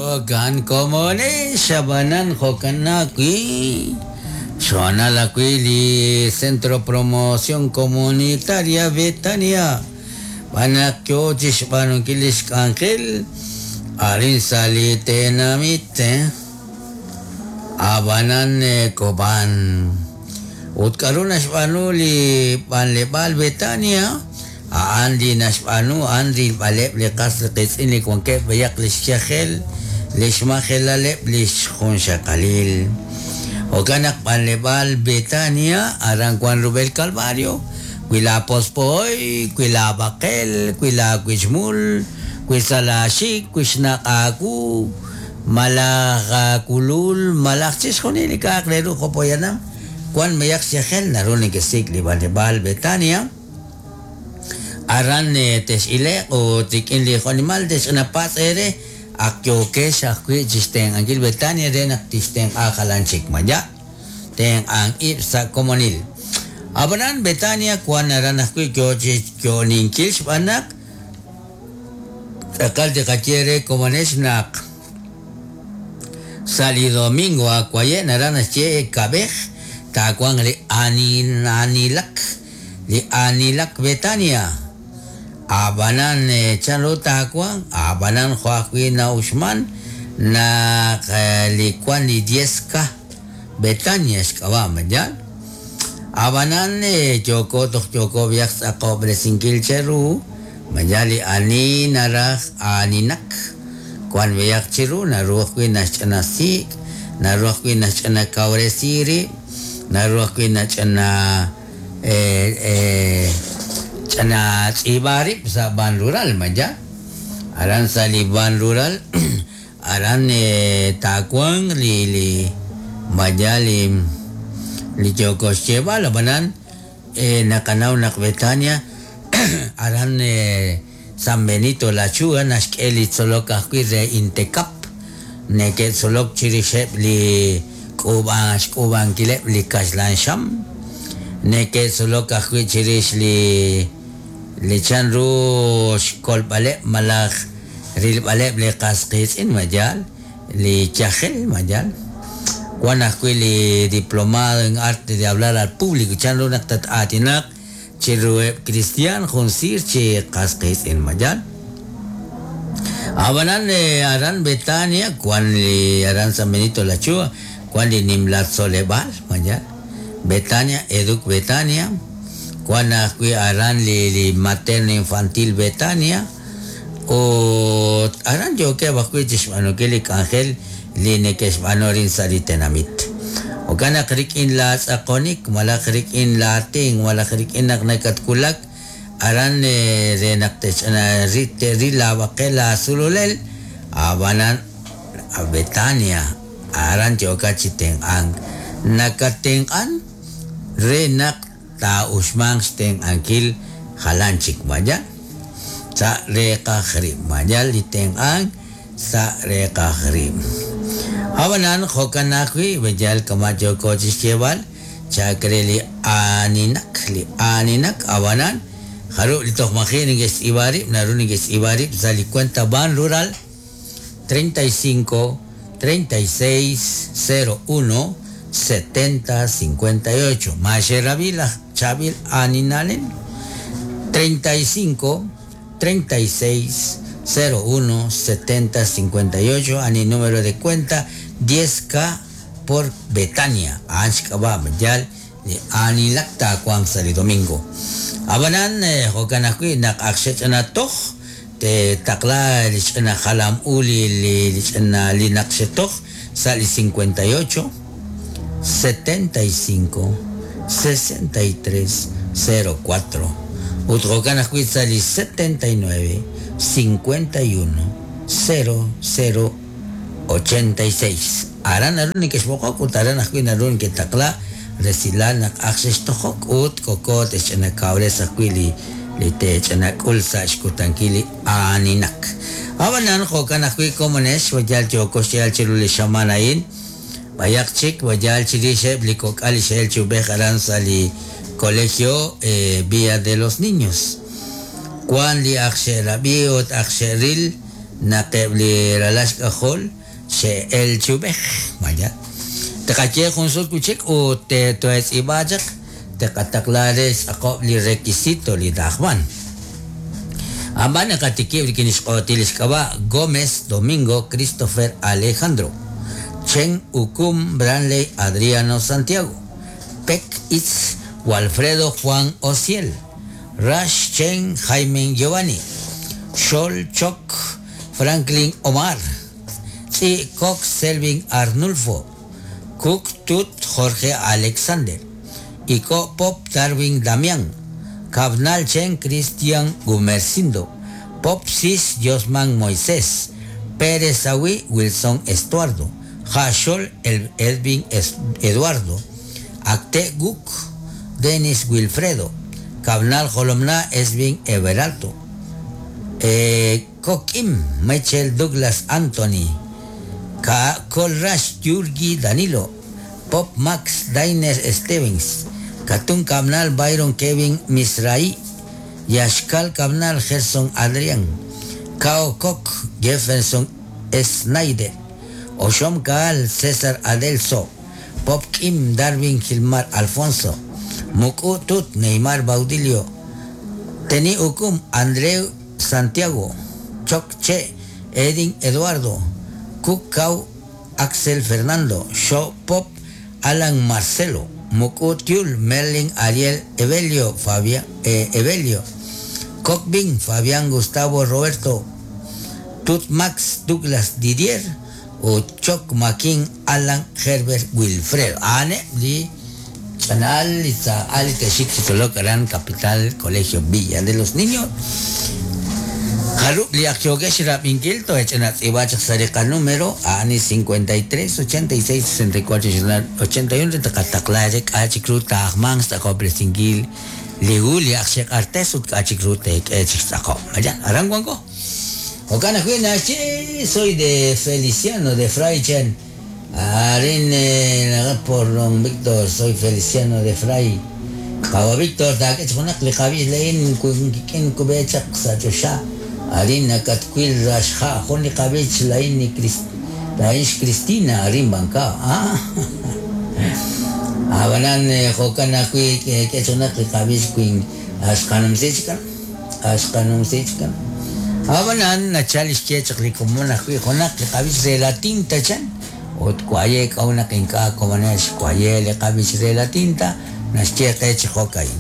Jo'kan komonex, ab'anan jo'kan ajwi' xhoonal ajwi' li Centro Promoción Comunitaria Betania xb'aan naq yo chi xb'aanunkil li xk'anjel arin sa' li tenamit ab'anan Cobán. Ut k'aru naxb'aanu li b'anleb'aal Betania? A'an li naxb'aanu a'an rilb'aleb' li qas qiitz'in li wankeb' b'ayaq li xyajel, li xmajelaleb' li xjunxaqalil. Jo'kan naq b'anleb'aal Betania aran wank rub'el Calvario, wi laapospo'oy, wi laab'aqel, wi laawichmul, wi sa' laaxik, wi xnaq' aawu, malaj aakulul, malaj chixjunil li k'a'aq re ru jo' poyanam wank b'ayaq xyajel naru nekesik' li b'anleb'aal Betania. Aran tex'ile'q ut rik'in li jo'nimal texch'inapatz' eere, ak yookex ajwi' chi xtenq'ankil Betania re naq tixtenq'a jalan chik. Ma ya'? Tenq'ank ib' sa' komonil. Ab'anan Betania wank aran ajwi' yo chi xyo'oninkil xb'aan naq tz'aqal tiqaye re komonex naq sa' li domingo ak waye' naraj naxye kab'ej taawanq li aanilak. Li aanilak Betania. A'b'anan, chanru taawanq? A'b'anan, jo' ajwi' na'uxman naq li wan li 10K Betania xk'ab'a', ma yaal? A'b'anan, yooko toj yooko b'ayaq xtz'aqob'resinkil cheru, ma yaal li ani naraj aaninak, wan b'ayaq chiru, naru ajwi' naxch'ina sik', naru ajwi' naxch'ina kawresi rib', naru ajwi' nach'ina Ch'ina tz'iib'a rib' sa' Ban Rural, ma yaal? Aran sa' li Ban Rural aran taawanq li li ma yaal li li yooko xyeeb'al, ab'anan naqanaw naq Betania aran San Benito La Achuga naxk'e li tzolok ajwi' re Intecap, neke'tzolok chirixeb' li k'uub'a xk'uub'ankileb' li kaxlan xam, neke'tzolok ajwi' chirix li li chan ru xkolb'aleb' malaj rilb'aleb' li qas qiitz'in, ma yaal? Li yajel, ma yaal? Wan ajwi' li Diplomado en Arte de Hablar al Público, chan ru naq tat-aatinaq Chiruheb' kristiaan jun siir chi qas qiitz'in, ma yaal? A'b'anan aran Betania wan li aran San Benito La Achuga wan li nimla tzoleb'aal, ma yaal? Betania, Educ Betania, wan ajwi' aran li li Materno Infantil Betania, ut aran yookeb' ajwi' chixb'aanunkil li k'anjel li neke'xb'aanu arin sa' li tenamit. Jo'kan naq rik'in laatz'aqonik malaj rik'in laatenq' malaj rik'in naq nakatwulak aran re naq te'ril laab'aqel laasululel, ab'anan Betania, aran yookat chi tenq'ank. Nakattenq'an re naq taa'uxmanq xtenq'ankil jalan chik, ma yaal? Sa' reeqaj rib', ma yaal li tenq'ank sa' reeqaj rib'. Ab'anan jo'kan ajwi' we yal kama' yooko chi xyeeb'al, chalk re li aaninak, li aaninak, ab'anan jarub' li toj maji' neke'xtz'iib'a rib' naru neke'xtz'iib'a rib' sa' li cuenta Banrural 35 36 01 70 58. Ma xe'rab'i laj chaab'il aaninalel? 35 36 01 70 58 a'an li numero de cuenta 10K por Betania. A'an xk'ab'a' yaal li aanilak taawanq sa' li domingo. Ab'anan, jo'kan ajwi' naq ak xech'ina toj, teetaqla li ch'ina jalam u li li ch'ina li naq xetoj sa' li 58 75 63 04 ut jo'kan ajwi' sa' li 79 51 00 86. Aran naru nekexb'oqok ut aran ajwi' naru neketaqla resilal naq ak xextojok ut koko te'xch'inakawres ajwi' li li teech'inak'ul sa' xkutankil li aaninak. Ab'anan jo'kan ajwi' komonex wa yal yooko xyeeb'al chiru li xamaan a'in, b'ayaq chik wa yal chirix eb' li kok'al li xe'el chi ub'ej aran sa' li Colegio Villa de los Niños. Wan li ak xe'rab'i ut ak xe'ril. Naq eb' li ralal xk'ajol xe'el chi ub'ej. Vaya. Tqaye jun sut wi' chik ut toetz'iib'a chaq tqataqla re xtz'aqob' li requisito li taajman. Ab'an naqatikib' rik'in xq'ootil xk'ab'a' Gómez Domingo Christopher Alejandro, Chen Ukum Branley Adriano Santiago, Pek Itz Walfredo Juan Ociel, Rash Chen Jaime Giovanni, Xol Choc Franklin Omar, Tzi Cox Selvin Arnulfo, Cook Tut Jorge Alexander, Iko Pop Darwin Damián, Cabnal Chen Cristian Gumercindo, Pop Sis Josman Moisés, Pérez Awi Wilson Estuardo, Hashol El Edwin Eduardo, Acte Guk Denis Wilfredo, Cabnal Jolomna Esvin Everalto, Kokim Michel Douglas Anthony, Kolrash Yurgi Danilo, Pop Max Dainer Stevens, Katun Cabnal Byron Kevin Misraí, Yashkal Cabnal Gerson Adrián, Kao Kok Jefferson Snyder, Oshom Kaal César Adelso, Pop Kim Darwin Gilmar Alfonso, Muku Tut Neymar Baudilio, Teni Ukum Andreu Santiago, Choc Che Edin Eduardo, Kuk Kau Axel Fernando, Sho Pop Alan Marcelo, Muku Tiul Merlin Ariel Evelio Fabia, Evelio, Cockbin Fabián Gustavo Roberto, Tut Max Douglas Didier, o Choc Maquin Alan Herbert Wilfredo. Ane li Chanal Itza Ali Teshik Aran Capital Colegio Villa de los Niños. Haru li akyogesh rabinkil to echanat ibach sarika número ani 53 86 64 81 takataklarek achikru tahmang sa kopresingil ligu li akshek artes ut achikru tek echik sako. Mayan, arangwango. Okana huina, soy de Feliciano de Fray Chen. Arin por don Víctor, soy Feliciano de Fray. Kawa Víctor, da que chonak li qabis lein kun kubechak sa chosha. Arin nakatquil rashja, jun li qabis lain ni Crist Cristina, arin banca. Ah. Abanan jokana kui que chonak li qabis kuin ashkanum sichkan. Ashkanum sichkan. Abanan nachal xkechaq li komon ajwi' junaq li qab'ix re la tinta chan ut kuaye k'awnaq ink'a' komonex kuaye li qab'ix re la tinta naxye qe chi jo'kayin.